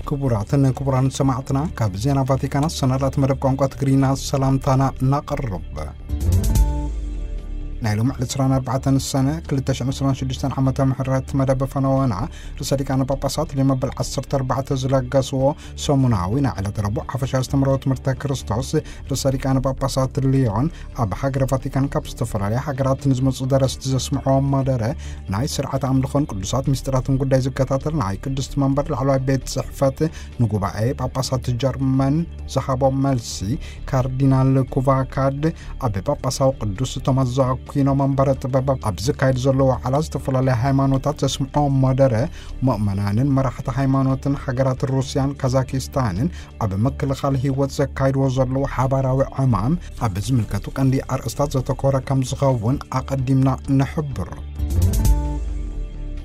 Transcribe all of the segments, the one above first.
ክቡራትን ክቡራን ሰማዕትና፣ ካብ ዜና ቫቲካን ኣሰናዳት መደብ ቋንቋ ትግርኛ ሰላምታና እናቕርብ። ናይ ሎሚ ዕለት ዕስራን ኣርባዕተን ሰነ ክልተ ሽሕን ዕስራን ሽዱሽተን ዓመተ ምህረት መደብ ፈነወና ርእሰ ሊቃነ ጳጳሳት ሊዮ መበል ዓሰርተ ኣርባዕተ ዝለገስዎ ሰሙናዊ ናይ ዕለት ረቡዕ ሓፈሻዊ ኣስተምህሮ ትምህርተ ክርስቶስ ርእሰ ሊቃነ ጳጳሳት ሊዮን ኣብ ሃገረ ቫቲካን ካብ ዝተፈላለያ ሃገራት ንዝመጹ ደረስቲ ዘስምዕዎ መደረ ናይ ስርዓት ኣምልኾን ቅዱሳት ምስጢራትን ጉዳይ ዝከታተል ናይ ቅድስቲ መንበር ላዕለዋይ ቤት ጽሕፈት ንጉባኤ ጳጳሳት ጀርመን ዝሃቦ መልሲ፣ ካርዲናል ኩቫካድ ኣብ ጳጳሳዊ ቅዱስ ቶማስ ዘኣኪኖ መንበረ ጥበብ ኣብ ዝካየድ ዘሎ ዋዕላ ዝተፈላለያ ሃይማኖታት ዘስምዖ መደረ፣ ምእመናንን መራሕቲ ሃይማኖትን ሃገራት ሩስያን ካዛኪስታንን ኣብ ምክልኻል ህይወት ዘካይድዎ ዘለዉ ሓባራዊ ዕማም ኣብ ዝምልከቱ ቀንዲ ኣርእስታት ዘተኮረ ከም ዝኸውን ኣቐዲምና ንሕብር።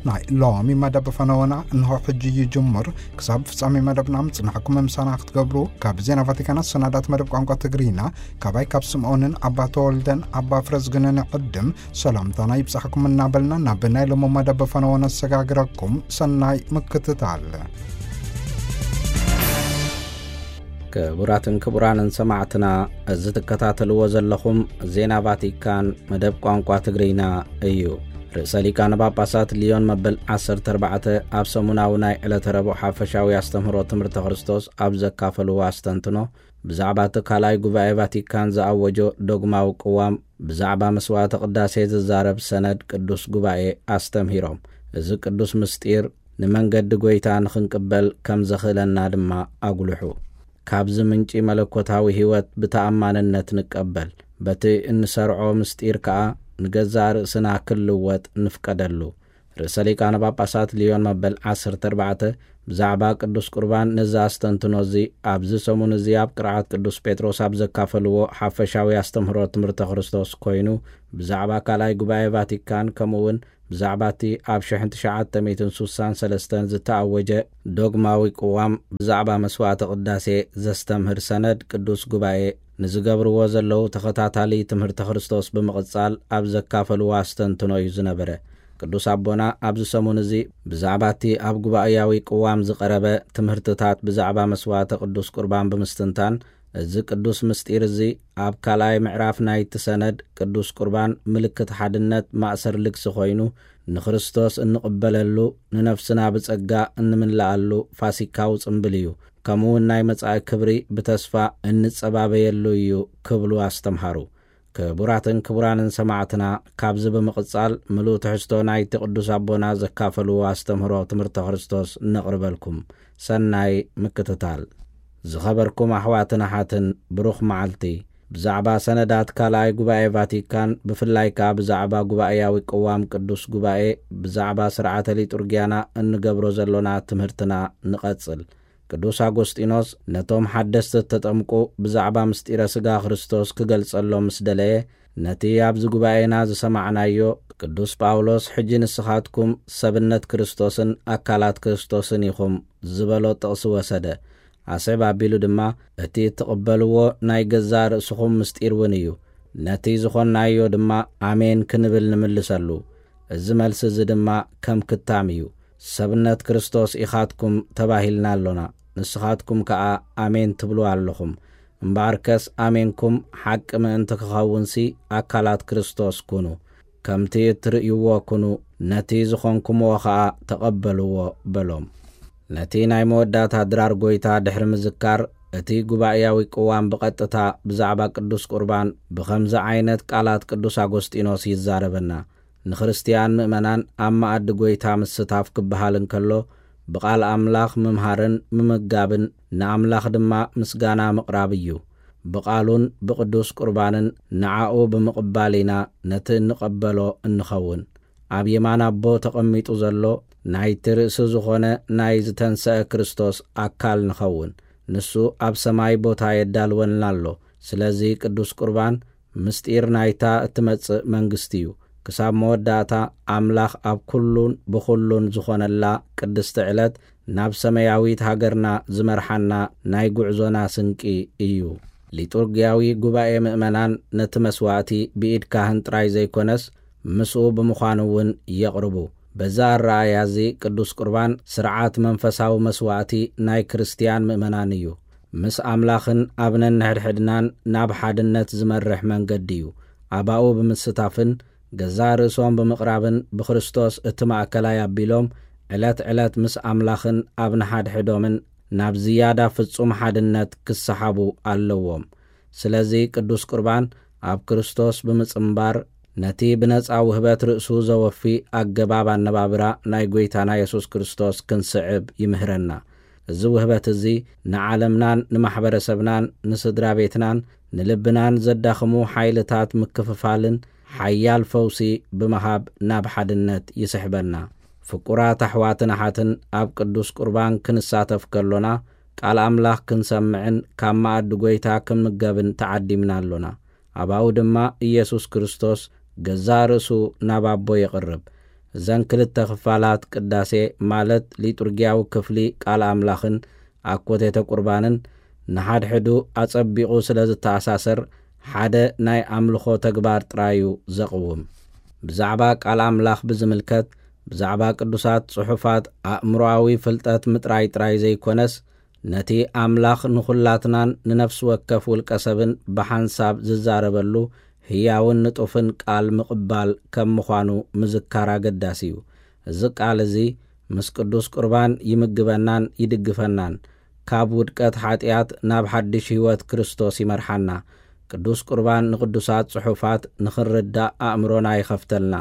ናይ ሎሚ መደብ ፈነወና እንሆ ሕጂ ይጅምር። ክሳብ ፍጻሜ መደብና ምጽናሕኩም ምሳና ክትገብሩ ካብ ዜና ቫቲካን ኣሰናዳት መደብ ቋንቋ ትግርኛ ካባይ ካብ ስምዖንን ኣባ ተወልደን ኣባ ፍረዝግንን ዕድም ሰላምታና ይብጻሕኩም እናበልና ናብ ናይ ሎሚ መደብ ፈነወ ነሰጋግረኩም። ሰናይ ምክትታል። ክቡራትን ክቡራንን ሰማዕትና፣ እዚ ትከታተልዎ ዘለኹም ዜና ቫቲካን መደብ ቋንቋ ትግርኛ እዩ። ርእሰ ሊቃነ ጳጳሳት ሊዮን መበል ዓሰርተ ኣርባዕተ ኣብ ሰሙናዊ ናይ ዕለተ ረቡዕ ሓፈሻዊ ኣስተምህሮ ትምህርተ ክርስቶስ ኣብ ዘካፈልዎ ኣስተንትኖ፣ ብዛዕባ እቲ ካልኣይ ጉባኤ ቫቲካን ዝኣወጆ ዶግማዊ ቅዋም ብዛዕባ መስዋዕተ ቅዳሴ ዝዛረብ ሰነድ ቅዱስ ጉባኤ ኣስተምሂሮም። እዚ ቅዱስ ምስጢር ንመንገዲ ጐይታ ንኽንቅበል ከም ዘኽእለና ድማ ኣጉልሑ። ካብዚ ምንጪ መለኮታዊ ህይወት ብተኣማንነት ንቀበል። በቲ እንሰርዖ ምስጢር ከኣ ንገዛእ ርእስና ክልወጥ ንፍቀደሉ። ርእሰ ሊቃነ ጳጳሳት ሊዮን መበል ዓሰርተ ኣርባዕተ ብዛዕባ ቅዱስ ቁርባን ነዚ ኣስተንትኖ እዚ ኣብዚ ሰሙን እዚ ኣብ ቅርዓት ቅዱስ ጴጥሮስ ኣብ ዘካፈልዎ ሓፈሻዊ ኣስተምህሮ ትምህርተ ክርስቶስ ኮይኑ፣ ብዛዕባ ካልኣይ ጉባኤ ቫቲካን ከምኡ እውን ብዛዕባ እቲ ኣብ ሽሕን ትሽዓተ ሚእትን ሱሳን ሰለስተን ዝተኣወጀ ዶግማዊ ቅዋም ብዛዕባ መስዋዕተ ቅዳሴ ዘስተምህር ሰነድ ቅዱስ ጉባኤ ንዝገብርዎ ዘለዉ ተኸታታሊ ትምህርተ ክርስቶስ ብምቕጻል ኣብ ዘካፈልዎ ኣስተንትኖ እዩ ዝነበረ። ቅዱስ ኣቦና ኣብዚ ሰሙን እዚ ብዛዕባ እቲ ኣብ ጉባኤያዊ ቅዋም ዝቐረበ ትምህርትታት ብዛዕባ መስዋዕተ ቅዱስ ቁርባን ብምስትንታን፣ እዚ ቅዱስ ምስጢር እዚ ኣብ ካልኣይ ምዕራፍ ናይቲ ሰነድ ቅዱስ ቁርባን ምልክት ሓድነት ማእሰር ልግሲ ኮይኑ፣ ንክርስቶስ እንቕበለሉ፣ ንነፍስና ብጸጋ እንምልኣሉ ፋሲካዊ ጽምብል እዩ። ከምኡ እውን ናይ መጻኢ ክብሪ ብተስፋ እንጸባበየሉ እዩ ክብሉ ኣስተምሃሩ። ክቡራትን ክቡራንን ሰማዕትና፣ ካብዚ ብምቕጻል ምሉእ ትሕዝቶ ናይቲ ቅዱስ ኣቦና ዘካፈልዎ ኣስተምህሮ ትምህርተ ክርስቶስ ነቕርበልኩም። ሰናይ ምክትታል። ዝኸበርኩም ኣሕዋትን ኣሓትን፣ ብሩኽ መዓልቲ። ብዛዕባ ሰነዳት ካልኣይ ጉባኤ ቫቲካን፣ ብፍላይ ከኣ ብዛዕባ ጉባኤያዊ ቅዋም ቅዱስ ጉባኤ፣ ብዛዕባ ስርዓተ ሊጡርጊያና እንገብሮ ዘሎና ትምህርትና ንቐጽል። ቅዱስ ኣጎስጢኖስ ነቶም ሓደስቲ እተጠምቁ ብዛዕባ ምስጢረ ሥጋ ክርስቶስ ክገልጸሎም ምስ ደለየ፣ ነቲ ኣብዚ ጉባኤና ዝሰማዕናዮ፣ ቅዱስ ጳውሎስ፣ "ሕጂ ንስኻትኩም ሰብነት ክርስቶስን ኣካላት ክርስቶስን ኢኹም" ዝበሎ ጥቕሲ ወሰደ። ኣስዕብ ኣቢሉ ድማ፣ "እቲ እትቕበልዎ ናይ ገዛእ ርእስኹም ምስጢር እውን እዩ። ነቲ ዝኾንናዮ ድማ ኣሜን ክንብል ንምልሰሉ። እዚ መልሲ እዚ ድማ ከም ክታም እዩ። ሰብነት ክርስቶስ ኢኻትኩም ተባሂልና ኣሎና። ንስኻትኩም ከኣ ኣሜን ትብሉ ኣለኹም። እምበኣርከስ ኣሜንኩም ሓቂ ምእንቲ ክኸውንሲ ኣካላት ክርስቶስ ኩኑ። ከምቲ እትርእይዎ ኩኑ፣ ነቲ ዝኾንኩምዎ ኸኣ ተቐበልዎ" በሎም። ነቲ ናይ መወዳእታ ድራር ጐይታ ድሕሪ ምዝካር፣ እቲ ጉባኤያዊ ቅዋም ብቐጥታ ብዛዕባ ቅዱስ ቁርባን ብኸምዚ ዓይነት ቃላት ቅዱስ ኣጎስጢኖስ ይዛረበና። ንክርስትያን ምእመናን ኣብ መኣዲ ጐይታ ምስታፍ ክበሃል እንከሎ፣ ብቓል ኣምላኽ ምምሃርን ምምጋብን ንኣምላኽ ድማ ምስጋና ምቕራብ እዩ። ብቓሉን ብቅዱስ ቁርባንን ንዓኡ ብምቕባል ኢና ነቲ እንቐበሎ እንኸውን። ኣብ የማን ኣቦ ተቐሚጡ ዘሎ ናይቲ ርእሲ ዝኾነ ናይ ዝተንሰአ ክርስቶስ ኣካል ንኸውን። ንሱ ኣብ ሰማይ ቦታ የዳልወልና ኣሎ። ስለዚ ቅዱስ ቁርባን ምስጢር ናይታ እትመጽእ መንግስቲ እዩ። ክሳብ መወዳእታ ኣምላኽ ኣብ ኩሉን ብኹሉን ዝኾነላ ቅድስቲ ዕለት ናብ ሰማያዊት ሃገርና ዝመርሓና ናይ ጉዕዞና ስንቂ እዩ። ሊጡርጊያዊ ጉባኤ ምእመናን ነቲ መስዋዕቲ ብኢድ ካህን ጥራይ ዘይኮነስ፣ ምስኡ ብምዃን እውን የቕርቡ። በዛ ኣረኣእያ እዚ ቅዱስ ቁርባን ስርዓት መንፈሳዊ መስዋእቲ ናይ ክርስትያን ምእመናን እዩ። ምስ ኣምላኽን ኣብ ነንሕድሕድናን ናብ ሓድነት ዝመርሕ መንገዲ እዩ። ኣባኡ ብምስታፍን ገዛእ ርእሶም ብምቕራብን ብክርስቶስ እቲ ማእከላይ ኣቢሎም ዕለት ዕለት ምስ ኣምላኽን ኣብ ንሓድሕዶምን ናብ ዝያዳ ፍጹም ሓድነት ክሰሓቡ ኣለዎም። ስለዚ ቅዱስ ቁርባን ኣብ ክርስቶስ ብምጽንባር ነቲ ብነጻ ውህበት ርእሱ ዘወፊ ኣገባብ ኣነባብራ ናይ ጐይታና የሱስ ክርስቶስ ክንስዕብ ይምህረና። እዚ ውህበት እዚ ንዓለምናን ንማሕበረሰብናን ንስድራ ቤትናን ንልብናን ዘዳኽሙ ሓይልታት ምክፍፋልን ሓያል ፈውሲ ብምሃብ ናብ ሓድነት ይስሕበና። ፍቁራት ኣሕዋትን ኣሓትን ኣብ ቅዱስ ቁርባን ክንሳተፍ ከሎና ቃል ኣምላኽ ክንሰምዕን ካብ መኣዲ ጐይታ ክንምገብን ተዓዲምና ኣሎና። ኣባኡ ድማ ኢየሱስ ክርስቶስ ገዛእ ርእሱ ናብ ኣቦ የቕርብ። እዘን ክልተ ክፋላት ቅዳሴ ማለት ሊጡርጊያዊ ክፍሊ ቃል ኣምላኽን ኣኮቴተ ቁርባንን ንሓድሕዱ ኣጸቢቑ ስለ ዝተኣሳሰር ሓደ ናይ ኣምልኾ ተግባር ጥራይ እዩ ዘቕውም። ብዛዕባ ቃል ኣምላኽ ብዝምልከት ብዛዕባ ቅዱሳት ጽሑፋት ኣእምሮኣዊ ፍልጠት ምጥራይ ጥራይ ዘይኮነስ ነቲ ኣምላኽ ንኹላትናን ንነፍሲ ወከፍ ውልቀ ሰብን ብሓንሳብ ዝዛረበሉ ህያውን ንጡፍን ቃል ምቕባል ከም ምዃኑ ምዝካር ኣገዳሲ እዩ። እዚ ቃል እዚ ምስ ቅዱስ ቁርባን ይምግበናን ይድግፈናን፣ ካብ ውድቀት ሓጢኣት ናብ ሓድሽ ህይወት ክርስቶስ ይመርሓና። ቅዱስ ቁርባን ንቅዱሳት ጽሑፋት ንኽንርዳእ ኣእምሮና ይኸፍተልና።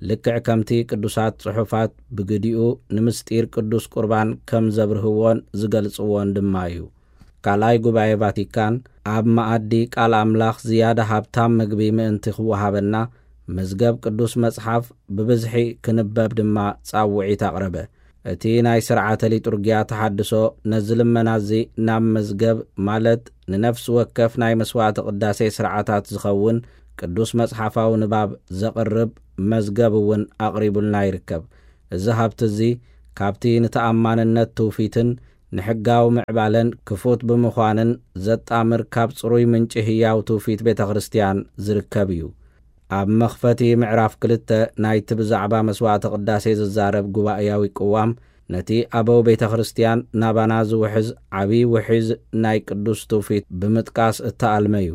ልክዕ ከምቲ ቅዱሳት ጽሑፋት ብግዲኡ ንምስጢር ቅዱስ ቁርባን ከም ዘብርህዎን ዝገልጽዎን ድማ እዩ። ካልኣይ ጉባኤ ቫቲካን ኣብ መኣዲ ቃል ኣምላኽ ዝያዳ ሃብታም ምግቢ ምእንቲ ክወሃበና፣ መዝገብ ቅዱስ መጽሓፍ ብብዝሒ ክንበብ ድማ ጻውዒት ኣቕረበ። እቲ ናይ ስርዓተ ሊጡርጊያ ተሓድሶ ነዚ ልመና እዚ ናብ መዝገብ፣ ማለት ንነፍሲ ወከፍ ናይ መስዋዕቲ ቅዳሴ ስርዓታት ዝኸውን ቅዱስ መጽሓፋዊ ንባብ ዘቕርብ መዝገብ እውን ኣቕሪቡልና ይርከብ። እዚ ሃብቲ እዚ ካብቲ ንተኣማንነት ትውፊትን ንሕጋዊ ምዕባለን ክፉት ብምዃንን ዘጣምር ካብ ጽሩይ ምንጪ ህያው ትውፊት ቤተ ክርስቲያን ዝርከብ እዩ። ኣብ መኽፈቲ ምዕራፍ ክልተ ናይቲ ብዛዕባ መስዋዕተ ቅዳሴ ዝዛረብ ጉባኤያዊ ቅዋም፣ ነቲ ኣበው ቤተ ክርስቲያን ናባና ዝውሕዝ ዓብዪ ውሒዝ ናይ ቅዱስ ትውፊት ብምጥቃስ እተኣልመ እዩ።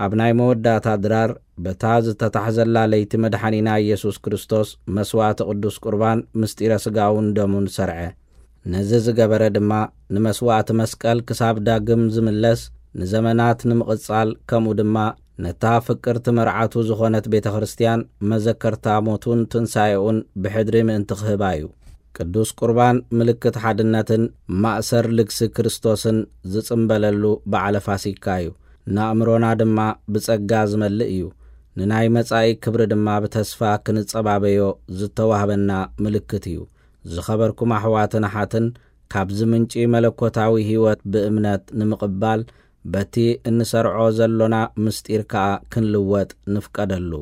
ኣብ ናይ መወዳእታ ድራር፣ በታ ዝተታሕዘላ ለይቲ መድሓኒና ኢየሱስ ክርስቶስ መስዋዕቲ ቅዱስ ቁርባን ምስጢረ ስጋውን ደሙን ሰርዐ። ነዚ ዝገበረ ድማ ንመስዋዕቲ መስቀል ክሳብ ዳግም ዝምለስ ንዘመናት ንምቕጻል፣ ከምኡ ድማ ነታ ፍቅርቲ መርዓቱ ዝኾነት ቤተ ክርስቲያን መዘከርታ ሞቱን ትንሳኤኡን ብሕድሪ ምእንቲ ክህባ እዩ። ቅዱስ ቁርባን ምልክት ሓድነትን ማእሰር ልግሲ ክርስቶስን ዝጽምበለሉ በዓለ ፋሲካ እዩ። ንኣእምሮና ድማ ብጸጋ ዝመልእ እዩ። ንናይ መጻኢ ክብሪ ድማ ብተስፋ ክንጸባበዮ ዝተዋህበና ምልክት እዩ። ዝኸበርኩም ኣሕዋትን ኣሓትን፣ ካብዚ ምንጪ መለኮታዊ ህይወት ብእምነት ንምቕባል፣ በቲ እንሰርዖ ዘሎና ምስጢር ከኣ ክንልወጥ ንፍቀደሉ።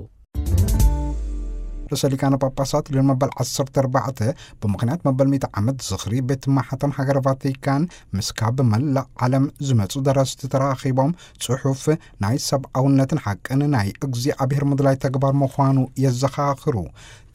ርእሰ ሊቃነ ጳጳሳት ሊዮን መበል ዓሰርተ ኣርባዕተ ብምኽንያት መበል ሚእቲ ዓመት ዝኽሪ ቤት ማሕተም ሃገር ቫቲካን ምስ ካብ መላእ ዓለም ዝመጹ ደረስቲ ተራኺቦም ጽሑፍ ናይ ሰብኣውነትን ሓቅን ናይ እግዚኣብሔር ምድላይ ተግባር ምዃኑ የዘኻኽሩ።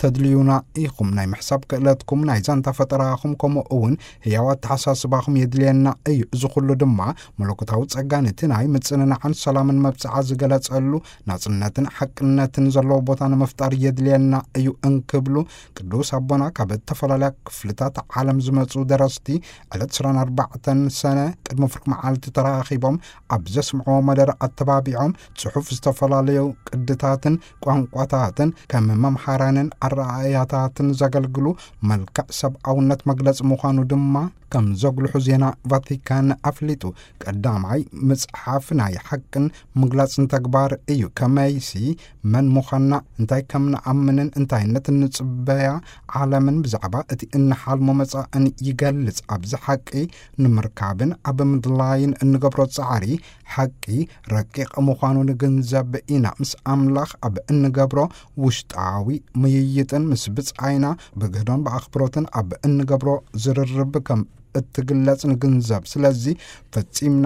ተድልዩና ኢኹም። ናይ ምሕሳብ ክእለትኩም፣ ናይ ዛንታ ፈጠራኹም፣ ከምኡ እውን ህያው ኣተሓሳስባኹም የድልየና እዩ። እዚ ኩሉ ድማ መለኮታዊ ጸጋ ነቲ ናይ ምጽንናዕን ሰላምን መብጽዓ ዝገለጸሉ ናጽነትን ሓቅነትን ዘለዎ ቦታ ንምፍጣር የድልየና እዩ እንክብሉ ቅዱስ ኣቦና ካብ እተፈላለያ ክፍልታት ዓለም ዝመጹ ደረስቲ ዕለት ዕስራን ኣርባዕተን ሰነ ቅድሚ ፍርቂ መዓልቲ ተራኺቦም ኣብ ዘስምዕዎ መደረ ኣተባቢዖም ጽሑፍ ዝተፈላለዩ ቅድታትን ቋንቋታትን ከም መምሃራንን ኣረኣእያታትን ዘገልግሉ መልክዕ ሰብኣውነት መግለጺ ምዃኑ ድማ ከም ዘጉልሑ ዜና ቫቲካን ኣፍሊጡ። ቀዳማይ መጽሓፍ ናይ ሓቅን ምግላጽን ተግባር እዩ። ከመይሲ መን ምዃንና፣ እንታይ ከም ንኣምንን እንታይነት እንጽበያ ዓለምን ብዛዕባ እቲ እንሓልሞ መጻእን ይገልጽ። ኣብዚ ሓቂ ንምርካብን ኣብ ምድላይን እንገብሮ ጻዕሪ ሓቂ ረቂቕ ምዃኑ ንግንዘብ ኢና። ምስ ኣምላኽ ኣብ እንገብሮ ውሽጣዊ ምይይጥን ምስ ብጻይና ብግህዶን ብኣኽብሮትን ኣብ እንገብሮ ዝርርብ ከም እትግለጽ ንግንዘብ። ስለዚ ፈጺምና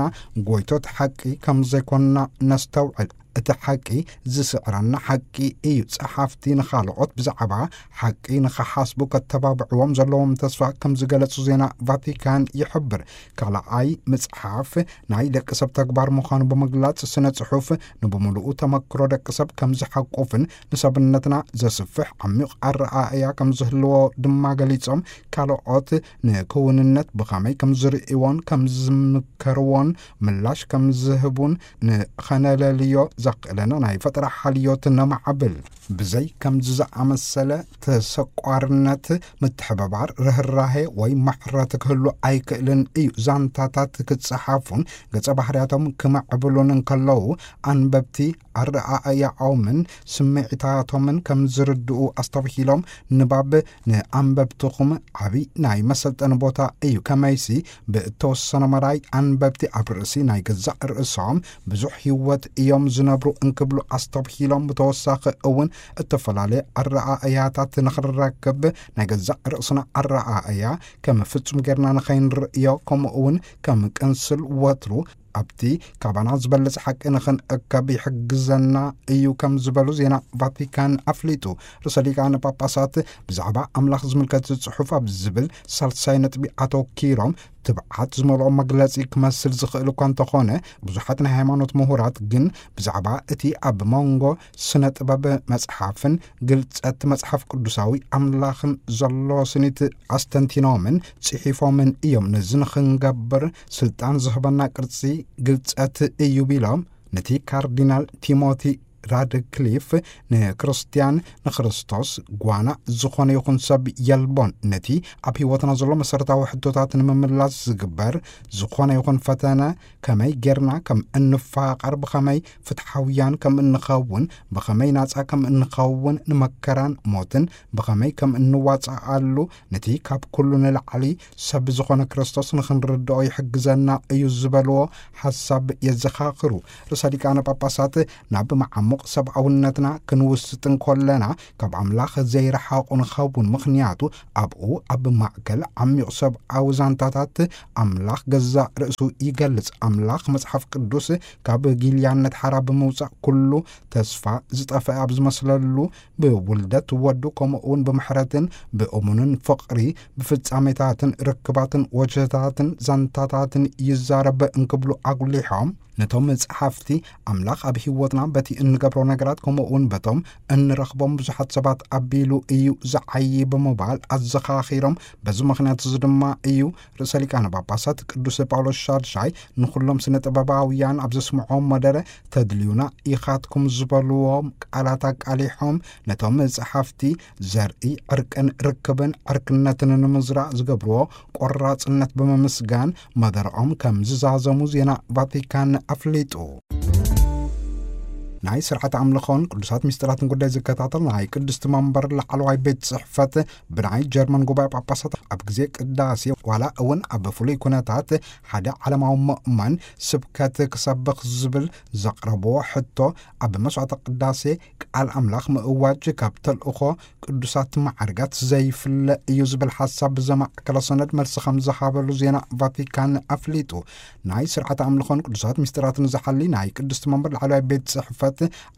ጎይቶት ሓቂ ከም ዘይኮንና ነስተውዕል። እቲ ሓቂ ዝስዕረና ሓቂ እዩ። ጸሓፍቲ ንኻልኦት ብዛዕባ ሓቂ ንኸሓስቡ ከተባብዕዎም ዘለዎም ተስፋ ከም ዝገለጹ ዜና ቫቲካን ይሕብር። ካልኣይ መጽሓፍ ናይ ደቂ ሰብ ተግባር ምዃኑ ብምግላጽ፣ ስነ ጽሑፍ ንብምሉኡ ተመክሮ ደቂ ሰብ ከም ዝሓቁፍን ንሰብነትና ዘስፍሕ ዓሚቕ ኣረኣእያ ከም ዝህልዎ ድማ ገሊጾም፣ ካልኦት ንክውንነት ብኸመይ ከም ዝርእይዎን ከም ዝምከርዎን ምላሽ ከም ዝህቡን ንኸነለልዮ ዘኽእለና ናይ ፈጠራ ሓልዮት ነማዕብል። ብዘይ ከምዚ ዝኣመሰለ ተሰቋርነት፣ ምትሕብባር፣ ርህራሄ ወይ ምሕረት ክህሉ ኣይክእልን እዩ። ዛንታታት ክጸሓፉን ገጸ ባህርያቶም ክምዕብሉን እንከለዉ፣ ኣንበብቲ ኣረኣእያኦምን ስምዒታቶምን ከም ዝርድኡ ኣስተብሂሎም፣ ንባብ ንኣንበብትኹም ዓቢ ናይ መሰልጠኒ ቦታ እዩ። ከመይሲ፣ ብእተወሰነ መዳይ ኣንበብቲ ኣብ ርእሲ ናይ ገዛእ ርእሶም ብዙሕ ህይወት እዮም ዝነብሩ እንክብሉ ኣስተብሂሎም፣ ብተወሳኺ እውን እተፈላለየ ኣረኣእያታት ንኽንረክብ ናይ ገዛእ ርእስና ኣረኣእያ ከም ፍጹም ጌርና ንኸይንርእዮ፣ ከምኡ እውን ከም ቅንስል ወትሩ ኣብቲ ካባና ዝበለጸ ሓቂ ንኽንእከብ ይሕግዘና እዩ ከም ዝበሉ ዜና ቫቲካን ኣፍሊጡ። ርእሰ ሊቃነ ጳጳሳት ብዛዕባ ኣምላኽ ዝምልከት ጽሑፍ ኣብ ዝብል ሳልሳይ ነጥቢ ኣተኪሮም፣ ትብዓት ዝመልኦ መግለጺ ክመስል ዝኽእል እኳ እንተኾነ፣ ብዙሓት ናይ ሃይማኖት ምሁራት ግን ብዛዕባ እቲ ኣብ መንጎ ስነ ጥበብ መጽሓፍን ግልጸት መጽሓፍ ቅዱሳዊ ኣምላኽን ዘሎ ስኒት ኣስተንቲኖምን ጽሒፎምን እዮም። ነዚ ንኽንገብር ስልጣን ዝህበና ቅርጺ ግልጸት እዩ ቢሎም፣ ነቲ ካርዲናል ቲሞቲ ራድክሊፍ ንክርስቲያን ንክርስቶስ ጓና ዝኾነ ይኹን ሰብ የልቦን። ነቲ ኣብ ህይወትና ዘሎ መሰረታዊ ሕቶታት ንምምላስ ዝግበር ዝኾነ ይኹን ፈተነ፣ ከመይ ጌርና ከም እንፋቐር፣ ብኸመይ ፍትሓውያን ከም እንኸውን፣ ብኸመይ ናጻ ከም እንኸውን፣ ንመከራን ሞትን ብኸመይ ከም እንዋጽኣሉ፣ ነቲ ካብ ኩሉ ንላዕሊ ሰብ ዝኾነ ክርስቶስ ንኽንርድኦ ይሕግዘና እዩ ዝበልዎ ሓሳብ የዘኻኽሩ። ርእሰ ሊቃነ ጳጳሳት ናብ መዓሙቕ ሰብኣውነትና ክንውስጥ እንኮለና፣ ካብ ኣምላኽ ዘይረሓቑ ንኸውን። ምኽንያቱ ኣብኡ ኣብ ማእከል ዓሚቕ ሰብኣዊ ዛንታታት ኣምላኽ ገዛእ ርእሱ ይገልጽ። ኣምላኽ መጽሓፍ ቅዱስ ካብ ጊልያነት ሓራ ብምውጻእ ኩሉ ተስፋ ዝጠፍአ ኣብ ዝመስለሉ፣ ብውልደት ወዱ፣ ከምኡ እውን ብምሕረትን ብእሙንን ፍቕሪ፣ ብፍጻሜታትን ርክባትን ወጀታትን ዛንታታትን ይዛረብ እንክብሉ ኣጉሊሖም፣ ነቶም ጸሓፍቲ፣ ኣምላኽ ኣብ ህይወትና በቲ እንገብሮ ነገራት፣ ከምኡ እውን በቶም እንረኽቦም ብዙሓት ሰባት ኣቢሉ እዩ ዝዓዪ ብምባል ኣዘኻኺሮም። በዚ ምኽንያት እዚ ድማ እዩ ርእሰ ሊቃነ ጳጳሳት ቅዱስ ጳውሎስ ሻድሻይ ንኹሎም ስነ ጥበባውያን ኣብ ዘስምዖም መደረ፣ "ተድልዩና ኢኻትኩም" ዝበልዎም ቃላት ኣቃሊሖም፣ ነቶም ጸሓፍቲ ዘርኢ ዕርቅን ርክብን ዕርክነትን ንምዝራእ ዝገብርዎ ቆራጽነት ብምምስጋን መደረኦም ከም ዝዛዘሙ ዜና ቫቲካን ኣፍሊጡ። ናይ ስርዓት ኣምልኾን ቅዱሳት ምስጢራትን ጉዳይ ዝከታተል ናይ ቅድስቲ መንበር ላዕለዋይ ቤት ጽሕፈት፣ ብናይ ጀርመን ጉባኤ ጳጳሳት ኣብ ግዜ ቅዳሴ ዋላ እውን ኣብ ፍሉይ ኩነታት ሓደ ዓለማዊ ምእመን ስብከት ክሰብኽ ዝብል ዘቕረብዎ ሕቶ፣ ኣብ መስዋዕተ ቅዳሴ ቃል ኣምላኽ ምእዋጅ ካብ ተልእኾ ቅዱሳት ማዕርጋት ዘይፍለ እዩ ዝብል ሓሳብ ብዘማእከለ ሰነድ መልሲ ከም ዝሃበሉ ዜና ቫቲካን ኣፍሊጡ። ናይ ስርዓተ ኣምልኾን ቅዱሳት ምስጢራትን ዝሓሊ ናይ ቅድስቲ መንበር ላዕለዋይ ቤት ጽሕፈት፣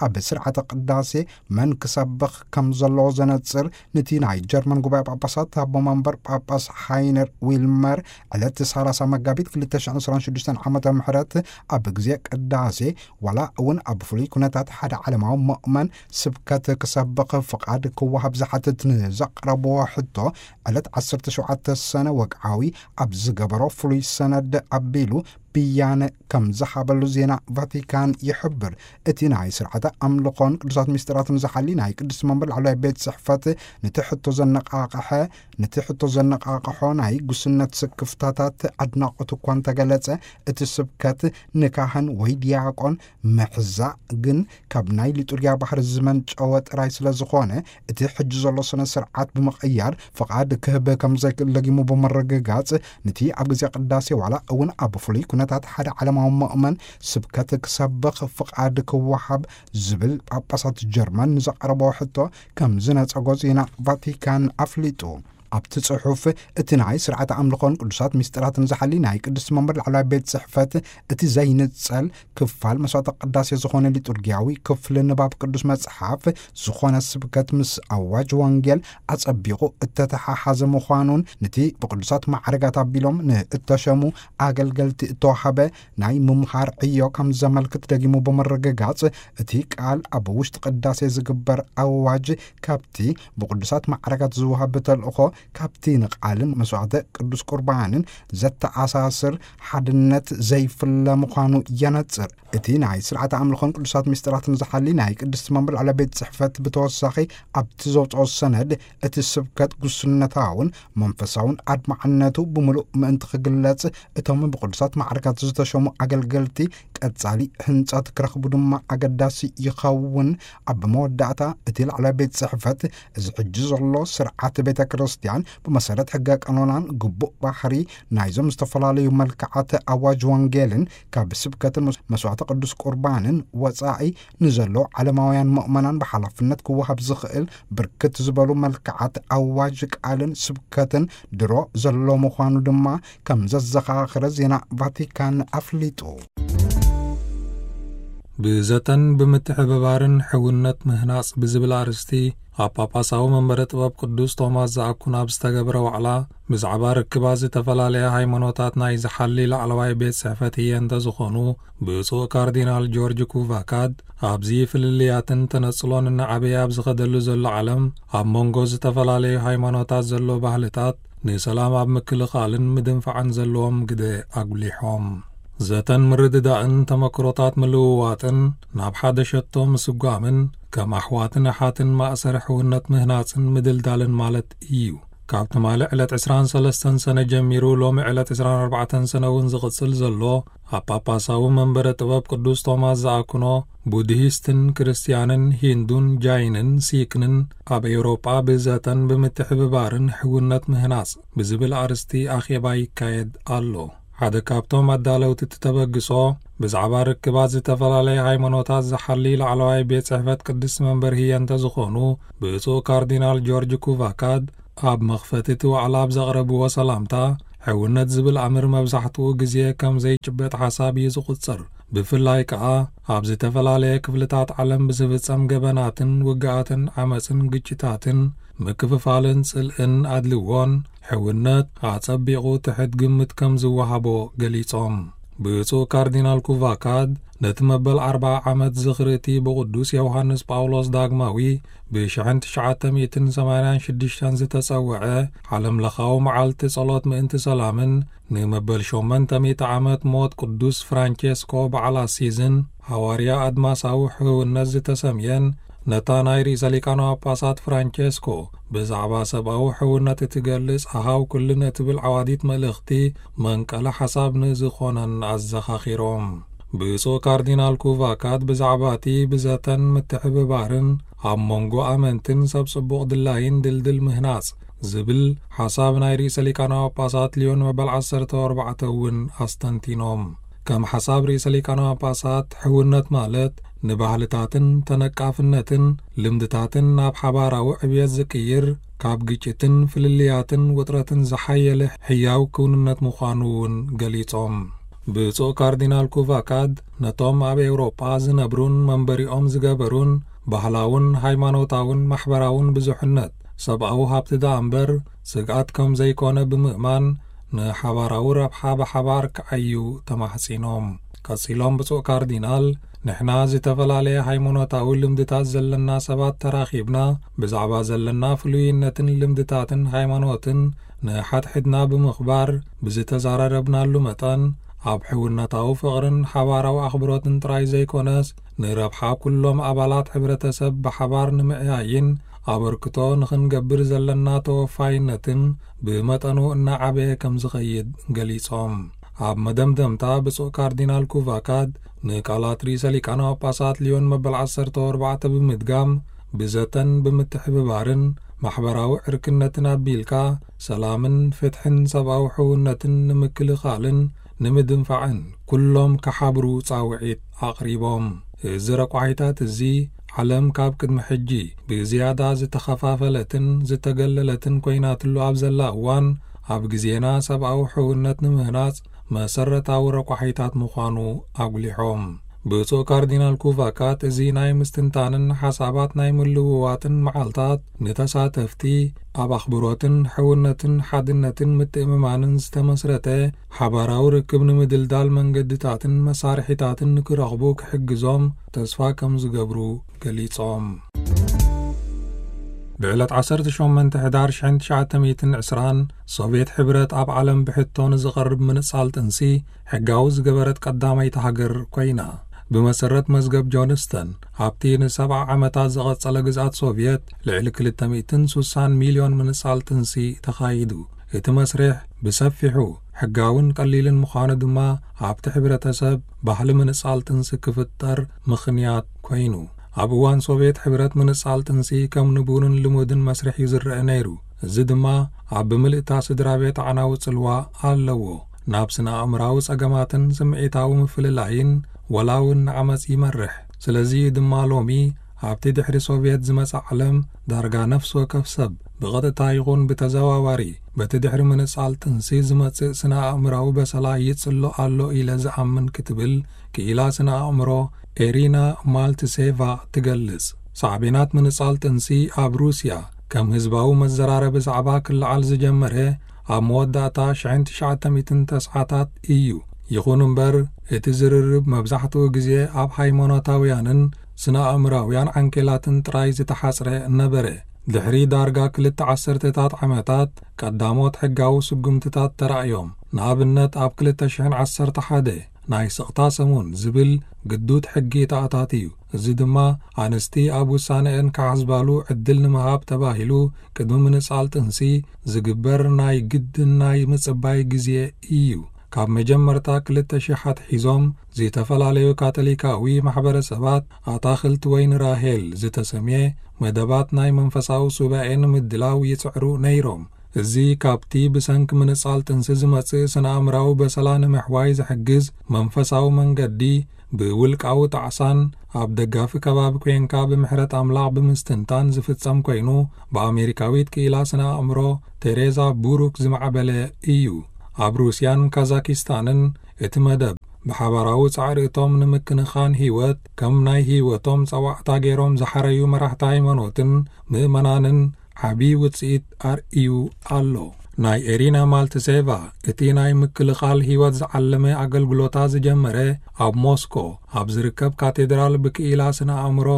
ኣብ ስርዓተ ቅዳሴ መን ክሰብኽ ከም ዘለዎ ዘነጽር፣ ነቲ ናይ ጀርመን ጉባኤ ጳጳሳት ኣቦ መንበር ጳጳስ ሃይነር ዊልመር ዕለት ሰላሳ መጋቢት ክልተ ሽሕን ዕስራን ሽዱሽተን ዓመተ ምህረት ኣብ ግዜ ቅዳሴ ዋላ እውን ኣብ ፍሉይ ኩነታት ሓደ ዓለማዊ ምእመን ስብከት ክሰብኽ ፍቓድ ክወሃብ ዝሓትት ንዘቕረብዎ ሕቶ፣ ዕለት ዓሰርተ ሸውዓተ ሰነ ወግዓዊ ኣብ ዝገበሮ ፍሉይ ሰነድ ኣቢሉ ብያነ ከም ዝሃበሉ ዜና ቫቲካን ይሕብር። እቲ ናይ ስርዓተ ኣምልኾን ቅዱሳት ምስጢራትን ዝሓሊ ናይ ቅድስቲ መንበር ላዕለዋይ ቤት ጽሕፈት፣ ነቲ ሕቶ ዘነቓቕሐ፣ ነቲ ሕቶ ዘነቓቕሖ ናይ ጉስነት ስክፍታታት ኣድናቖት እኳ እንተገለጸ፣ እቲ ስብከት ንካህን ወይ ዲያቆን ምሕዛእ ግን ካብ ናይ ሊጡርጊያ ባህሪ ዝመንጨወ ጥራይ ስለ ዝኾነ፣ እቲ ሕጂ ዘሎ ስነ ስርዓት ብምቕያር ፍቓድ ክህብ ከም ዘይክእል ደጊሙ ብምርግጋጽ፣ ነቲ ኣብ ግዜ ቅዳሴ ዋላ እውን ኣብ ፍሉይ ኩነታት ሓደ ዓለማዊ ምእመን ስብከት ክሰብኽ ፍቓድ ክወሃብ ዝብል ጳጳሳት ጀርመን ንዘቕረቦ ሕቶ ከም ዝነጸጎ ዜና ቫቲካን ኣፍሊጡ። ኣብቲ ጽሑፍ፣ እቲ ናይ ስርዓተ ኣምልኾን ቅዱሳት ምስጢራትን ዝሓሊ ናይ ቅድስቲ መንበር ላዕለዋይ ቤት ጽሕፈት፣ እቲ ዘይንጸል ክፋል መስዋዕተ ቅዳሴ ዝኾነ ሊጡርጊያዊ ክፍሊ ንባብ ቅዱስ መጽሓፍ ዝኾነ ስብከት ምስ ኣዋጅ ወንጌል ኣጸቢቑ እተተሓሓዘ ምዃኑን፣ ነቲ ብቅዱሳት ማዕረጋት ኣቢሎም ንእተሸሙ ኣገልገልቲ እተዋሃበ ናይ ምምሃር ዕዮ ከም ዘመልክት ደጊሙ ብምርግጋጽ፣ እቲ ቃል ኣብ ውሽጢ ቅዳሴ ዝግበር ኣዋጅ ካብቲ ብቅዱሳት ማዕረጋት ዝወሃብ ተልእኾ ካብቲ ንቃልን መስዋዕተ ቅዱስ ቁርባንን ዘተኣሳስር ሓድነት ዘይፍለ ምዃኑ የነጽር። እቲ ናይ ስርዓተ ኣምልኾን ቅዱሳት ምስጢራትን ዝሓሊ ናይ ቅድስቲ መንበር ላዕለዋይ ቤት ጽሕፈት ብተወሳኺ ኣብቲ ዘውጽኦ ሰነድ፣ እቲ ስብከት ጉስነታውን መንፈሳውን ኣድማዕነቱ ብምሉእ ምእንቲ ክግለጽ፣ እቶም ብቅዱሳት ማዕረጋት ዝተሸሙ ኣገልገልቲ ቀጻሊ ህንጸት ክረኽቡ ድማ ኣገዳሲ ይኸውን። ኣብ መወዳእታ፣ እቲ ላዕለዋይ ቤት ጽሕፈት፣ እዚ ሕጂ ዘሎ ስርዓት ቤተ ክርስቲያን ብመሰረት ሕገ ቀኖናን ግቡእ ባህሪ ናይዞም ዝተፈላለዩ መልክዓት ኣዋጅ ወንጌልን ካብ ስብከትን መስ-፣ መስዋዕተ ቅዱስ ቁርባንን ወጻኢ ንዘሎ ዓለማውያን ምእመናን ብሓላፍነት ክወሃብ ዝኽእል ብርክት ዝበሉ መልክዓት ኣዋጅ ቃልን ስብከትን ድሮ ዘሎ ምዃኑ ድማ ከም ዘዘኻኸረ ዜና ቫቲካን ኣፍሊጡ። ብዘተን ብምትሕብባርን ሕውነት ምህናጽ ብዝብል ኣርእስቲ ኣብ ጳጳሳዊ መንበረ ጥበብ ቅዱስ ቶማስ ዘኣኩን ኣብ ዝተገብረ ዋዕላ፣ ብዛዕባ ርክባት ዝተፈላለያ ሃይማኖታት ናይ ዝሓሊ ላዕለዋይ ቤት ጽሕፈት ህየ እንተ ዝኾኑ፣ ብፁዕ ካርዲናል ጆርጅ ኩቫካድ፣ ኣብዚ ፍልልያትን ተነጽሎን እናዓበየ ኣብ ዝኸደሉ ዘሎ ዓለም፣ ኣብ መንጎ ዝተፈላለዩ ሃይማኖታት ዘሎ ባህልታት ንሰላም ኣብ ምክልኻልን ምድንፋዕን ዘለዎም ግደ ኣጉሊሖም። ዘተን ምርድዳእን ተመክሮታት ምልውዋጥን ናብ ሓደ ሸቶ ምስጓምን ከም ኣሕዋትን ኣሓትን ማእሰር ሕውነት ምህናጽን ምድልዳልን ማለት እዩ። ካብ ትማሊ ዕለት ዕስራን ሰለስተን ሰነ ጀሚሩ ሎሚ ዕለት ዕስራን ኣርባዕተን ሰነ እውን ዝቕጽል ዘሎ ኣብ ጳጳሳዊ መንበረ ጥበብ ቅዱስ ቶማስ ዘኣክኖ ቡድሂስትን ክርስትያንን ሂንዱን ጃይንን ሲክንን ኣብ ኤውሮጳ ብዘተን ብምትሕብባርን ሕውነት ምህናጽ ብዝብል ኣርእስቲ ኣኼባ ይካየድ ኣሎ። ሓደ ካብቶም ኣዳለውቲ እቲ ተበግሶ ብዛዕባ ርክባት ዝተፈላለየ ሃይማኖታት ዝሓሊ ላዕለዋይ ቤት ጽሕፈት ቅድስቲ መንበር ህየ እንተ ዝኾኑ ብፁዕ ካርዲናል ጆርጅ ኩቫካድ ኣብ መኽፈቲ እቲ ዋዕላ ኣብ ዘቕረብዎ ሰላምታ፣ ሕውነት ዝብል ኣምር መብዛሕትኡ ግዜ ከም ዘይጭበጥ ሓሳብ እዩ ዝቑጸር። ብፍላይ ከኣ ኣብ ዝተፈላለየ ክፍልታት ዓለም ብዝፍጸም ገበናትን ውግኣትን ዓመጽን ግጭታትን ምክፍፋልን ጽልእን ኣድልዎን ሕውነት ኣጸቢቑ ትሕት ግምት ከም ዝወሃቦ ገሊጾም። ብፁዕ ካርዲናል ኩቫካድ ነቲ መበል ኣርብዓ ዓመት ዝኽሪ እቲ ብቕዱስ ዮሃንስ ጳውሎስ ዳግማዊ ብሽሕን ትሽዓተ ሚእትን ሰማንያን ሽዱሽተን ዝተጸውዐ ዓለምለኻዊ መዓልቲ ጸሎት ምእንቲ ሰላምን ንመበል ሸሞንተ ሚእቲ ዓመት ሞት ቅዱስ ፍራንቸስኮ በዓል ኣሲዝን ሃዋርያ ኣድማሳዊ ሕውነት ዝተሰምየን ነታ ናይ ርእሰ ሊቃነ ጳጳሳት ፍራንቸስኮ ብዛዕባ ሰብኣዊ ሕውነት እትገልጽ ኣሃው ኩልነ እትብል ዓዋዲት መልእኽቲ መንቀሊ ሓሳብ ንዝኾነን ኣዘኻኺሮም። ብፁዕ ካርዲናል ኩቫካት ብዛዕባ እቲ ብዘተን ምትሕብባርን ኣብ መንጎ ኣመንትን ሰብ ጽቡቕ ድላይን ድልድል ምህናጽ ዝብል ሓሳብ ናይ ርእሰ ሊቃነ ጳጳሳት ሊዮን መበል ዓሰርተ ኣርባዕተ እውን ኣስተንቲኖም። ከም ሓሳብ ርእሰ ሊቃነ ጳጳሳት፣ ሕውነት ማለት ንባህልታትን ተነቃፍነትን ልምድታትን ናብ ሓባራዊ ዕብየት ዝቅይር፣ ካብ ግጭትን ፍልልያትን ውጥረትን ዝሓየለ ሕያው ክውንነት ምዃኑ እውን ገሊጾም። ብፁዕ ካርዲናል ኩቫካድ ነቶም ኣብ ኤውሮጳ ዝነብሩን መንበሪኦም ዝገበሩን ባህላውን ሃይማኖታውን ማሕበራውን ብዙሕነት፣ ሰብኣዊ ሃብቲ ደኣ እምበር ስግኣት ከም ዘይኮነ ብምእማን፣ ንሓባራዊ ረብሓ ብሓባር ክዓዩ ተማሕጺኖም። ቀጺሎም ብፁዕ ካርዲናል፣ ንሕና ዝተፈላለየ ሃይማኖታዊ ልምድታት ዘለና ሰባት ተራኺብና፣ ብዛዕባ ዘለና ፍሉይነትን ልምድታትን ሃይማኖትን ንሓድሕድና ብምኽባር ብዝተዛራረብናሉ መጠን፣ ኣብ ሕውነታዊ ፍቕርን ሓባራዊ ኣኽብሮትን ጥራይ ዘይኮነስ፣ ንረብሓ ኩሎም ኣባላት ሕብረተሰብ ብሓባር ንምዕያይን ኣበርክቶ ንኽንገብር ዘለና ተወፋይነትን ብመጠኑ እናዓበየ ከም ዝኸይድ ገሊጾም። ኣብ መደምደምታ ብፁዕ ካርዲናል ኩቫካድ ንቃላት ርእሰ ሊቃነ ጳጳሳት ሊዮን መበል ዓሰርተ ኣርባዕተ ብምድጋም፣ ብዘተን ብምትሕብባርን ማሕበራዊ ዕርክነትን ኣቢልካ ሰላምን ፍትሕን ሰብኣዊ ሕውነትን ንምክልኻልን ንምድንፋዕን ኩሎም ክሓብሩ ጻውዒት ኣቕሪቦም። እዚ ረቋሒታት እዚ ዓለም ካብ ቅድሚ ሕጂ ብዝያዳ ዝተኸፋፈለትን ዝተገለለትን ኮይናትሉ ኣብ ዘላ እዋን፣ ኣብ ግዜና ሰብኣዊ ሕውነት ንምህናጽ መሰረታዊ ረቋሒታት ምዃኑ ኣጉሊሖም። ብፁዕ ካርዲናል ኩቫካት፣ እዚ ናይ ምስትንታንን ሓሳባት ናይ ምልውዋጥን መዓልታት፣ ንተሳተፍቲ ኣብ ኣኽብሮትን ሕውነትን ሓድነትን ምትእምማንን ዝተመስረተ ሓባራዊ ርክብ ንምድልዳል መንገድታትን መሳርሒታትን ንክረኽቡ ክሕግዞም ተስፋ ከም ዝገብሩ ገሊጾም። ብዕለት ዓሰርተ ሸሞንተ ሕዳር ሽሕን ትሽዓተ ሚእትን ዕስራን፣ ሶቭየት ሕብረት ኣብ ዓለም ብሕቶ ንዝቐርብ ምንጻል ጥንሲ ሕጋዊ ዝገበረት ቀዳመይቲ ሃገር ኮይና። ብመሰረት መዝገብ ጆንስተን፣ ኣብቲ ንሰብዓ ዓመታት ዝቐጸለ ግዝኣት ሶቭየት፣ ልዕሊ ክልተ ሚእትን ስሳን ሚልዮን ምንጻል ጥንሲ ተኻይዱ። እቲ መስርሕ ብሰፊሑ ሕጋውን ቀሊልን ምዃኑ ድማ፣ ኣብቲ ሕብረተሰብ ባህሊ ምንጻል ጥንሲ ክፍጠር ምኽንያት ኮይኑ። ኣብ እዋን ሶቭየት ሕብረት፣ ምንጻል ጥንሲ ከም ንቡርን ልሙድን መስርሕ እዩ ዝረአ ነይሩ። እዚ ድማ ኣብ ብምልእታ ስድራ ቤት ኣዕናዊ ጽልዋ ኣለዎ። ናብ ስነ ኣእምራዊ ጸገማትን ስምዒታዊ ምፍልላይን፣ ወላ እውን ንዓመጽ ይመርሕ። ስለዚ ድማ ሎሚ ኣብቲ ድሕሪ ሶቭየት ዝመጽእ ዓለም፣ ዳርጋ ነፍሲ ወከፍ ሰብ ብቐጥታ ይኹን ብተዘዋዋሪ በቲ ድሕሪ ምንጻል ጥንሲ ዝመጽእ ስነ ኣእምራዊ በሰላ ይጽሎ ኣሎ ኢለ ዝኣምን ክትብል ክኢላ ስነ ኣእምሮ ኤሪና ማልትሴቫ ትገልጽ። ሳዕቤናት ምንጻል ጥንሲ ኣብ ሩስያ ከም ህዝባዊ መዘራረቢ ዛዕባ ክለዓል ዝጀመረ ኣብ መወዳእታ ሽሕን ትሽዓተ ሚእትን ተስዓታት እዩ። ይኹን እምበር፣ እቲ ዝርርብ መብዛሕትኡ ግዜ ኣብ ሃይማኖታውያንን ስነ ኣእምራውያን ዓንኬላትን ጥራይ ዝተሓጽረ ነበረ። ድሕሪ ዳርጋ ክልተ ዓሰርተታት ዓመታት፣ ቀዳሞት ሕጋዊ ስጉምትታት ተራእዮም። ንኣብነት፣ ኣብ ክልተ ሽሕን ዓሰርተ ሓደ፣ ናይ ስቕታ ሰሙን ዝብል ግዱድ ሕጊ ተኣታትዩ። እዚ ድማ ኣንስቲ ኣብ ውሳነአን ክሓስባሉ ዕድል ንምሃብ ተባሂሉ፣ ቅድሚ ምንጻል ጥንሲ ዝግበር ናይ ግድን ናይ ምጽባይ ግዜ እዩ። ካብ መጀመርታ ክልተ ሽሕ ኣትሒዞም፣ ዝተፈላለዩ ካቶሊካዊ ማሕበረሰባት ኣታኽልቲ ወይኒ ራሄል ዝተሰምየ መደባት ናይ መንፈሳዊ ሱባኤ ንምድላው ይጽዕሩ ነይሮም። እዚ ካብቲ ብሰንኪ ምንጻል ጥንሲ ዝመጽእ ስነ-ኣእምራዊ በሰላ ንምሕዋይ ዝሕግዝ መንፈሳዊ መንገዲ፣ ብውልቃዊ ጣዕሳን ኣብ ደጋፊ ከባቢ ኮንካ ብምሕረት ኣምላኽ ብምስትንታን ዝፍጸም ኮይኑ፣ ብኣሜሪካዊት ክኢላ ስነ-ኣእምሮ ቴሬዛ ቡሩክ ዝማዕበለ እዩ። ኣብ ሩስያን ካዛኪስታንን እቲ መደብ ብሓባራዊ ጻዕሪ እቶም ንምክንኻን ህይወት ከም ናይ ህይወቶም ጸዋዕታ ገይሮም ዝሓረዩ መራሕቲ ሃይማኖትን ምእመናንን ዓቢ ውጽኢት ኣርእዩ ኣሎ። ናይ ኤሪና ማልትሴቫ እቲ ናይ ምክልኻል ህይወት ዝዓለመ ኣገልግሎታ ዝጀመረ፣ ኣብ ሞስኮ ኣብ ዝርከብ ካቴድራል ብክኢላ ስነ ኣእምሮ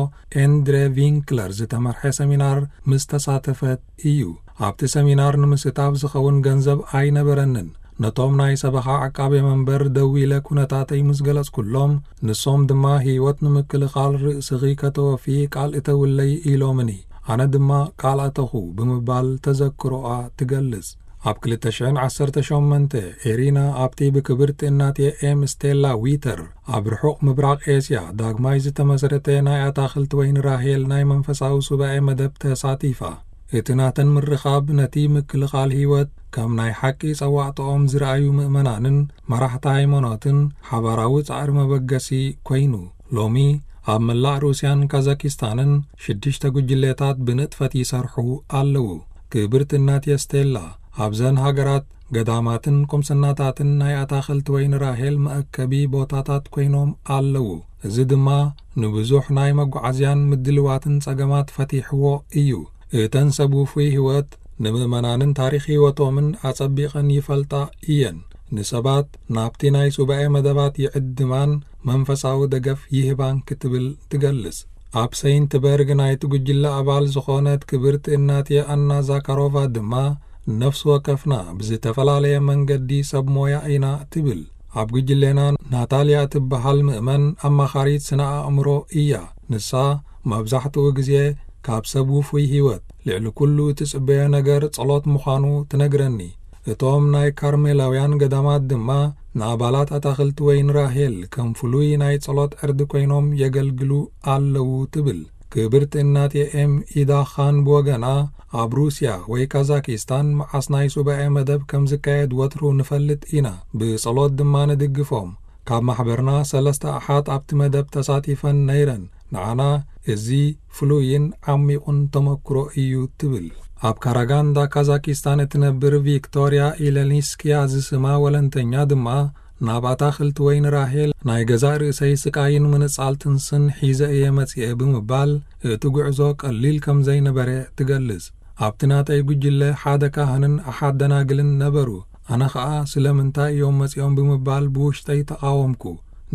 ኤንድሬ ቪንክለር ዝተመርሐ ሰሚናር ምስ ተሳተፈት እዩ። ኣብቲ ሰሚናር ንምስታፍ ዝኸውን ገንዘብ ኣይነበረንን። ነቶም ናይ ሰበኻ ዓቃቤ መንበር ደዊለ ኩነታተይ ምስ ገለጽኩሎም፣ ንሶም ድማ ህይወት ንምክልኻል ርእስኺ ከተወፊ ቃል እተውለይ ኢሎምኒ። ኣነ ድማ ቃል ኣተኹ ብምባል ተዘክሮኣ ትገልጽ። ኣብ ክልተ ሽሕን ዓሰርተ ሸሞንተ፣ ኤሪና ኣብቲ ብክብርቲ እናትየ ኤም ስቴላ ዊተር ኣብ ርሑቕ ምብራቕ ኤስያ ዳግማይ ዝተመስረተ ናይ ኣታኽልቲ ወይኒ ራሄል ናይ መንፈሳዊ ሱባኤ መደብ ተሳቲፋ። እቲ ናተን ምርኻብ ነቲ ምክልኻል ህይወት ከም ናይ ሓቂ ጸዋዕታኦም ዝረኣዩ ምእመናንን መራሕቲ ሃይማኖትን ሓባራዊ ጻዕሪ መበገሲ ኮይኑ። ሎሚ ኣብ መላእ ሩስያን ካዛኪስታንን ሽዱሽተ ጉጅሌታት ብንጥፈት ይሰርሑ ኣለዉ። ክብርቲ እናትየ ስቴላ፣ ኣብዘን ሃገራት ገዳማትን ቁምስናታትን ናይ ኣታኽልቲ ወይኒ ራሄል መእከቢ ቦታታት ኮይኖም ኣለዉ። እዚ ድማ ንብዙሕ ናይ መጓዓዝያን ምድልዋትን ጸገማት ፈቲሕዎ እዩ። እተን ሰብ ውፉይ ህይወት ንምእመናንን ታሪኽ ህይወቶምን ኣጸቢቐን ይፈልጣ እየን። ንሰባት ናብቲ ናይ ሱባኤ መደባት ይዕድማን መንፈሳዊ ደገፍ ይህባን ክትብል ትገልጽ። ኣብ ሰይንት በርግ ናይቲ ጉጅለ ኣባል ዝኾነት ክብርቲ እናትየ ኣና ዛካሮቫ ድማ፣ ነፍሲ ወከፍና ብዝተፈላለየ መንገዲ ሰብ ሞያ ኢና ትብል። ኣብ ጉጅሌና ናታልያ እትበሃል ምእመን ኣማኻሪት ስነ ኣእምሮ እያ። ንሳ መብዛሕትኡ ግዜ ካብ ሰብ ውፉይ ህይወት ልዕሊ ኩሉ እትጽበዮ ነገር ጸሎት ምዃኑ ትነግረኒ። እቶም ናይ ካርሜላውያን ገዳማት ድማ ንኣባላት ኣታኽልቲ ወይኒ ራሄል ከም ፍሉይ ናይ ጸሎት ዕርዲ ኮይኖም የገልግሉ ኣለዉ ትብል። ክብርቲ እናት ኤም ኢዳ ኻን ብወገና፣ ኣብ ሩስያ ወይ ካዛኪስታን መዓስ ናይ ሱባኤ መደብ ከም ዝካየድ ወትሩ ንፈልጥ ኢና፣ ብጸሎት ድማ ንድግፎም። ካብ ማሕበርና ሰለስተ ኣሓት ኣብቲ መደብ ተሳቲፈን ነይረን። ንዓና እዚ ፍሉይን ዓሚቑን ተመክሮ እዩ ትብል። ኣብ ካራጋንዳ ካዛኪስታን እትነብር ቪክቶርያ ኢለኒስኪያ ዝስማ ወለንተኛ ድማ፣ ናብ ኣታኽልቲ ወይኒ ራሄል ናይ ገዛእ ርእሰይ ስቃይን ምንጻል ጥንስን ሒዘ እየ መጺኤ ብምባል፣ እቲ ጉዕዞ ቀሊል ከም ዘይነበረ ትገልጽ። ኣብቲ ናተይ ጉጅለ ሓደ ካህንን ኣሓት ደናግልን ነበሩ። ኣነ ኸኣ ስለምንታይ እዮም መጺኦም ብምባል ብውሽጠይ ተቓወምኩ።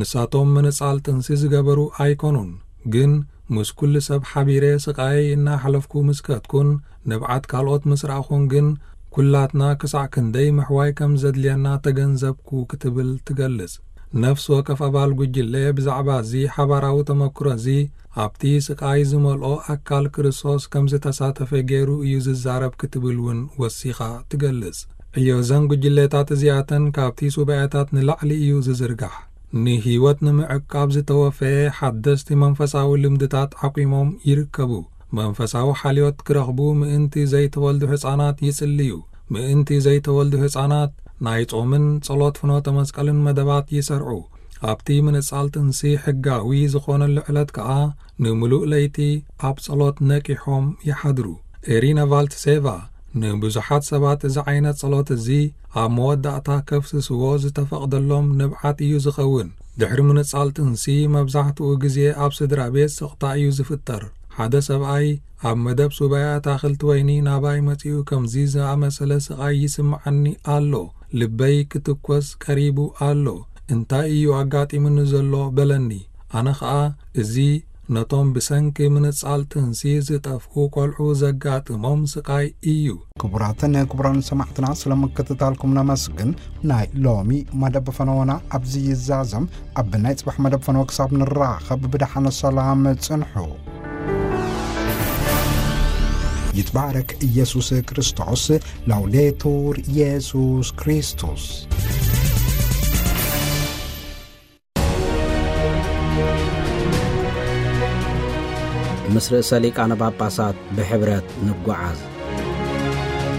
ንሳቶም ምንጻል ጥንሲ ዝገበሩ ኣይኮኑን፣ ግን ምስ ኩሉ ሰብ ሓቢረ ስቓየይ እናሓለፍኩ ምስ ከድኩን ንብዓት ካልኦት ምስ ረኣኹን ግን፣ ኩላትና ክሳዕ ክንደይ ምሕዋይ ከም ዘድልየና ተገንዘብኩ ክትብል ትገልጽ። ነፍሲ ወከፍ ኣባል ጉጅለ ብዛዕባ እዚ ሓባራዊ ተመክሮ እዚ ኣብቲ ስቓይ ዝመልኦ ኣካል ክርስቶስ ከም ዝተሳተፈ ገይሩ እዩ ዝዛረብ ክትብል እውን ወሲኻ ትገልጽ። ዕዮ እዘን ጉጅለታት እዚኣተን ካብቲ ሱባኤታት ንላዕሊ እዩ ዝዝርጋሕ። ንህይወት ንምዕቃብ ዝተወፈየ ሓደስቲ መንፈሳዊ ልምድታት ዓቂሞም ይርከቡ። መንፈሳዊ ሓልዮት ክረኽቡ ምእንቲ ዘይተወልዱ ህጻናት ይጽልዩ። ምእንቲ ዘይተወልዱ ህጻናት ናይ ጾምን ጸሎት ፍኖተ መስቀልን መደባት ይሰርዑ። ኣብቲ ምንጻል ጥንሲ ሕጋዊ ዝኾነሉ ዕለት ከኣ ንምሉእ ለይቲ ኣብ ጸሎት ነቂሖም ይሓድሩ። ኤሪና ቫልትሴቫ ንብዙሓት ሰባት እዚ ዓይነት ጸሎት እዚ ኣብ መወዳእታ ከፍስስዎ ዝተፈቕደሎም ንብዓት እዩ ዝኸውን። ድሕሪ ምንጻል ጥንሲ መብዛሕትኡ ግዜ ኣብ ስድራ ቤት ስቕታ እዩ ዝፍጠር። ሓደ ሰብኣይ ኣብ መደብ ሱባኤ ኣታኽልቲ ወይኒ ናባይ መጺኡ ከምዚ ዝኣመሰለ ስቓይ ይስምዓኒ ኣሎ፣ ልበይ ክትኮስ ቀሪቡ ኣሎ፣ እንታይ እዩ ኣጋጢሙኒ ዘሎ በለኒ። ኣነ ኸኣ እዚ ነቶም ብሰንኪ ምንጻል ጥንሲ ዝጠፍኡ ቆልዑ ዘጋጥሞም ስቓይ እዩ። ክቡራትን ክቡራን ሰማዕትና ስለ ምክትታልኩም ነመስግን። ናይ ሎሚ መደብ ፈነወና ኣብዚ ይዛዘም። ኣብ ናይ ጽባሕ መደብ ፈነወ ክሳብ ንራኸብ ብደሓነ ሰላም ጽንሑ። ይትባረክ ኢየሱስ ክርስቶስ። ላውዴቱር ኢየሱስ ክርስቶስ። ምስ ርእሰ ሊቃነ ጳጳሳት ብሕብረት ንጓዓዝ።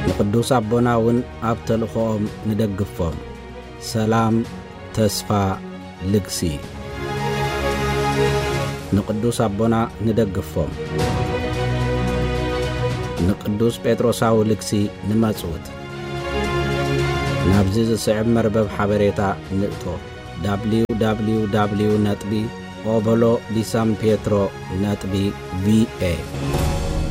ንቅዱስ ኣቦና እውን ኣብ ተልእኾኦም ንደግፎም። ሰላም፣ ተስፋ፣ ልግሲ። ንቅዱስ ኣቦና ንደግፎም። ንቅዱስ ጴጥሮሳዊ ልግሲ ንመጽውት። ናብዚ ዝስዕብ መርበብ ሓበሬታ ንእቶ። ደብሊው ደብሊው ደብሊው ነጥቢ ኦቦሎ ዲ ሳን ፔትሮ ነጥቢ ቪ ኤ።